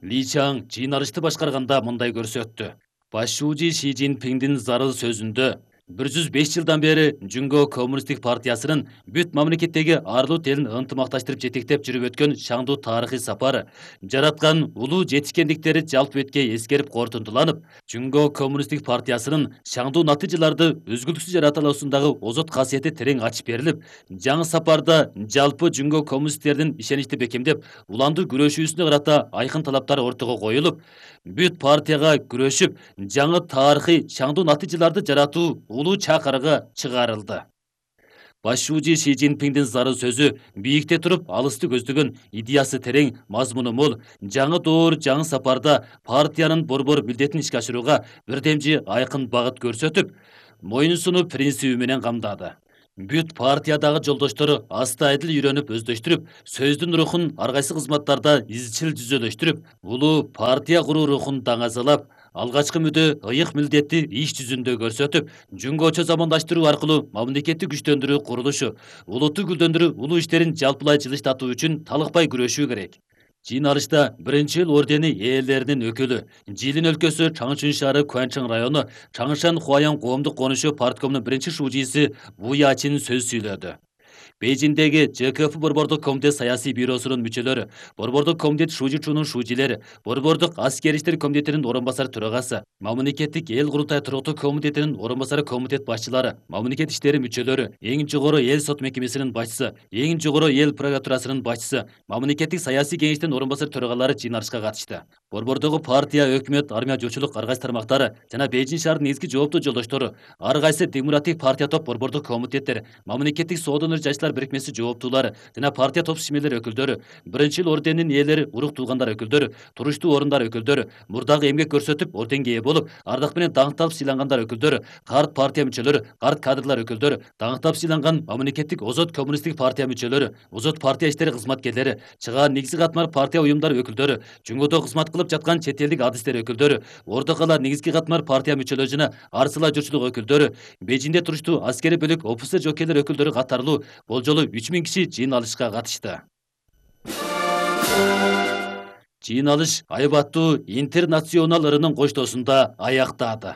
Ли Чаң жыйналышты башкарганда мындай көрсөттү. Башчы Ши Цзиньпиңдин зарыл сөзүндө 105 жылдан бери Жүнгө Коммунисттик партиясынын бүт мамлекеттеги арлуу элин ынтымакташтырып жетектеп жүрүп өткөн шаңдуу тарыхый сапары жараткан улуу жетишкендиктери жалпы бетке эскерип корутундуланып, Жүнгө Коммунисттик партиясынын шаңдуу натыйжаларды үзгүлтүксүз жарата алуусундагы озот касиети терең ачып берилип, жаңы сапарда жалпы Жүнгө коммунисттердин ишеничти бекемдеп, уландуу күрөшүүсүнө карата айкын талаптар ортого коюлуп, бүт партияга күрөшүп, жаңы тарыхый шаңдуу натыйжаларды жаратуу улуу чакырыгы чыгарылды. Башчы Ши Цзиньпиңдин зарыл сөзү бийикте туруп алысты көздөгөн, идеясы терең, мазмуну мол, жаңы доор, жаңы сапарда партиянын борбор милдетин ишке ашырууга бирдемчи айкын багыт көрсөтүп, моюнсунуу принциби менен камдады. Бүт партиядагы жолдоштору астайдыл үйрөнүп өздөштүрүп, сөздүн рухун ар кайсы кызматтарда изчил жүзөлөштүрүп, улуу партия куруу рухун даңазалап, алгачкы мүдө ыйык милдетти иш жүзүндө көрсөтүп, Жүнгөчө замандаштыруу аркылуу мамлекетти күчтөндүрүү курулушу, улутту гүлдөндүрүү улуу иштерин жалпылай жылыштатуу үчүн талыкпай күрөшүү керек. Жыйналышта биринчи ордени ээлеринин өкүлү, Жилин өлкөсү Чаңшын шаары Куанчжың району Чаңшан Хуаян коомдук конушу парткомунун биринчи шужиси Ву Ячин сөз сүйлөдү. Бейжиңдеги ЖКФ борбордук комитет саясий бюросунун мүчөлөрү, борбордук комитет Шужичунун шужилери, борбордук аскер иштер комитетинин орун басары төрагасы, мамлекеттик эл курултай туруктуу комитетинин орун басары комитет башчылары, мамлекет иштери мүчөлөрү, эң жогору эл сот мекемесинин башчысы, эң жогору эл прокуратурасынын башчысы, мамлекеттик саясий кеңештин орун басары төрагалары жыйналышка катышты. Борбордогу партия, өкмөт, армия, жочулук ар кайсы тармактары жана Бейжиң шаарынын негизги жооптуу жолдоштору, ар кайсы демократик партия топ борбордук комитеттер, мамлекеттик соодон жаштар бирикмеси жооптуулары жана партия топ ишмерлер өкүлдөрү, биринчи орденинин ээлери, урук туугандар өкүлдөрү, туруштуу орундар өкүлдөрү, мурдагы эмгек көрсөтүп, орденге ээ болуп, ардак менен даңкталып сыйлангандар өкүлдөрү, карт партия мүчөлөрү, карт кадрлар өкүлдөрү, даңктап сыйланган мамлекеттик озот коммунисттик партия мүчөлөрү, озот партия иштери кызматкерлери, чыгаан негизги катмар партия уюмдары өкүлдөрү, Жүнгөдө кызмат кылып жаткан чет элдик адистер өкүлдөрү, орто кала негизги катмар партия мүчөлөрү жана арсыла журчулук өкүлдөрү, Бейжиңде туруштуу аскери бөлүк офицер жокейлер өкүлдөрү катарлуу болжолу 3000 киши жыйналышка катышты. Жыйналыш айбаттуу интернационал ырынын коштоосунда аяктады.